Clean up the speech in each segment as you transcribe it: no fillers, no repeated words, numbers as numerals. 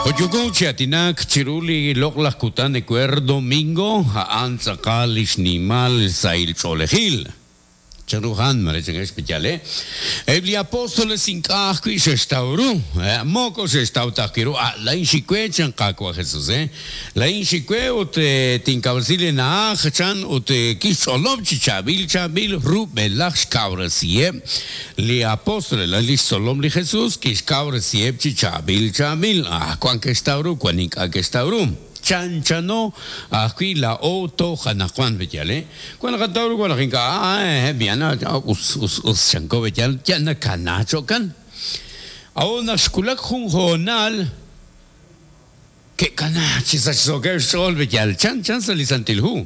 Jo' yooko chi aatinak chiru li loq'laj kutan ewer domingo, a'an tz'aqal li xnimal sahil ch'oolejil. Chanru a'an? Mare chankex pe'yaal, eh? Eb' li apóstoles ink'a' ajwi' xe'xtaw ru. Moko xe'xtaw ta ajwi' ru. Ah, laa'in xik we, chan Qaawa' Jesus, eh? Laa'in xik we ut tinkawresi li na'aj, chan, ut kixch'olob' chi chaab'il chaab'il rub'elaj xkawresiheb' li apóstoles, li xtzolom li Jesus, kixkawresiheb' chi chaab'il chaab'il. Ah, wan ke'xtaw ru, wan ink'a' ke'xtaw ru. Chanchano ajwi' laa'o toj anaqwan, pe'yaal, eh? Wan naqataw ru, wan naq ink'a', ah, eh, us, us, us, chanko, pe'yaal, yal nakana cho'kan. A'ut naq xwulak jun hoonal, ke'kana chi sachsookeb' xch'ool, pe'yaal, chanchan sa' li Santil Hu.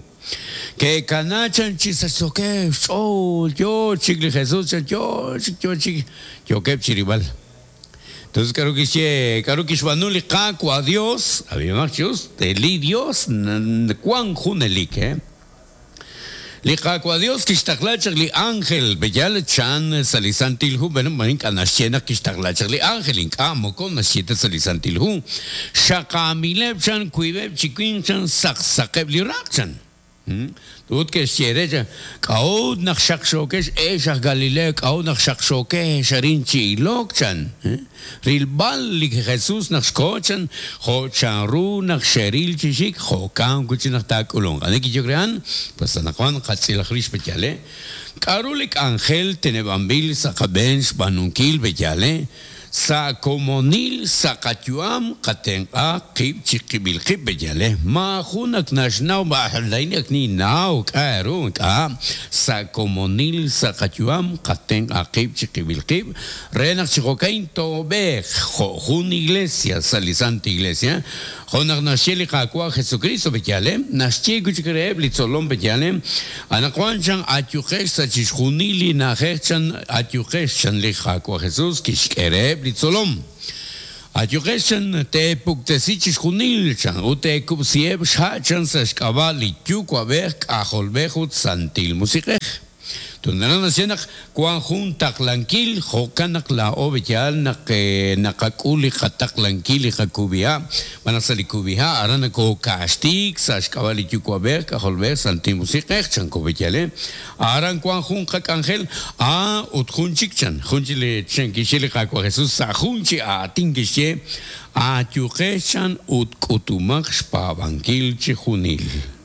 Ke'kana chan chi sachsookeb' xch'ool, yoo chik li Jesus, chan yoo chik, yoo chik, yookeb' chirilb'al. Entonces, k'aru kixye, k'aru kixb'aanu li Qaawa' Dios? Ab'ihomaq chi us, li Dios wank junelik, eh. Li Qaawa' Dios kixtaqla chaq li ánjel, pe'yaal chan sa' li Santil Hu, bueno, ma ink'a' naxye naq kixtaqla chaq li ánjel, ink'a' moko naxye ta sa' li Santil Hu. Xaqaamileb' chan wiib'eb' chi winq chan saqsaqeb' li raq' chan. Ut ke'xye re, K'a'ut naq xaqxookex, ex aj Galileo, k'a'ut naq xaqxookex arin chi ilok? chan. Rilb'al li Jesus naq xkoho, chan, jo' chanru naq xeril chi xik, jo'kan wi' chik naq taak'ulunq. Ani kiyok re a'an? Pues anaqwan qatz'ilaq rix pe'yaal, eh? K'aru li k'anjel teneb'anb'il sa' qab'een xb'aanunkil pe'yaal, eh? Sa' komonil sa' qayu'am qatenq'a qib' chiqib'il qib' pe'yaal, eh? Maajun ak naxnaw laa'in ak ninnaw k'a' ru ink'a'. Sa' komonil sa' qayu'am qatenq'a qib' chiqib'il qib' re naq chi jo'ka'in toob'eeq jo' jun iglesia sa' li Santa Iglesia, Jo' naq naxye li Qaawa' Jesukristo, pe'yaal, eh? Naxye wi' chik reheb' li tzolom, pe'yaal, eh? Anaqwan chan ayuqex sa' chixjunil li na'ajej chan ayuqex, chan li Qaawa' Jesus kixk'e reheb' li tzolom. Ayuqex chan teepuktesi chixjunil, chan, ut teekub'siheb' xha' chan sa' xk'ab'a' li Yuwa'b'ej, K'ajolb'ej ut Santil Musiq'ej. Tunana naxye naq wan jun taqlankil, jo'kan naq laa'o yaal naq naqak'ul li qataqlankil li qakub'iha', xb'aan naq sa' li kub'iha' aran nokokaaxtiik sa' xk'ab'a' li Yuwa'b'ej, K'ajolb'ej, Santil Musiq'ej, chanko b'eyal, Aran wan jun qak'anjel, a ut jun chik chan, jun chik li chan kixye li Qaawa' Jesus sa' jun chi aatin kixye, Aayuqex chan ut k'utumaq xpaab'ankil chijunil.